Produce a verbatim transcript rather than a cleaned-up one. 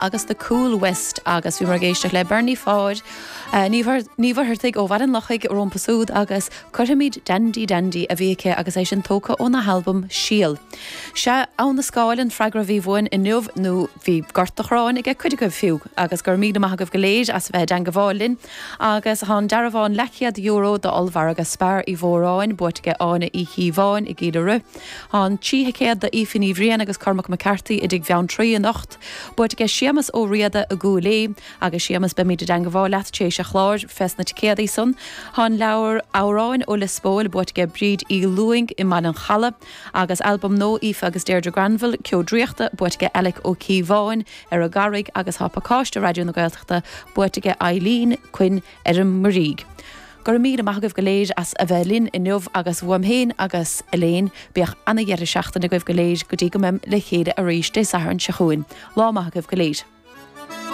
Agus The Cool West agus bhíomar ag éisteacht le Bernie Pháid Ní Mhuircheartaigh ó Bhaile an Lochaigh rompu siúd agus Cuirfimid Dandy Dandy a bhí aici agus é sin tógtha óna halbam Síol. Sea Abhainn na Scáil an freagra a bhí uainn inniu nó bhí Gort an Chorráin aige cuid agaibh fiú agus go raibh míle maith agaibh go léir as bheith i dteagmháil linn agus tá an dearbhán leathchéad euro d'ollmhargadh Spar Uí Mhóráin buaite ag Áine Uí Chíobháin i gCill Ru. Tá trí thicéad d'Aoife Ní Bhriain agus Cormac McCarthy i dTigh Bheanntraí anocht, buaite ag Séamus Ó Riada i gCúil Aodha agus Séamus beimid i dteagmháil leat tar éis an chláir fés na ticéadaí san. Tá an leabhar Amhráin ó Lios Póil buaite ag Bríd Uí Lúing i mBaile an Chalaidh agus albam nua Aoife agus Deirdre Granville Ceo Draíochta buaite ag Alec Ó Cíobháin ar an gCarraig agus tá pacáiste Raidió na Gaeltachta buaite ag Eileen Quinn ar an Muirígh. Go raibh míle maith agaibh go léir as a bheith linn inniu agus uaim féin agus Elaine, bíodh ana-dheireadh seachtaine agaibh go léir go dtí go mbeim le chéile arís Dé Sathairn seo chugainn. Lá maith agaibh go léir.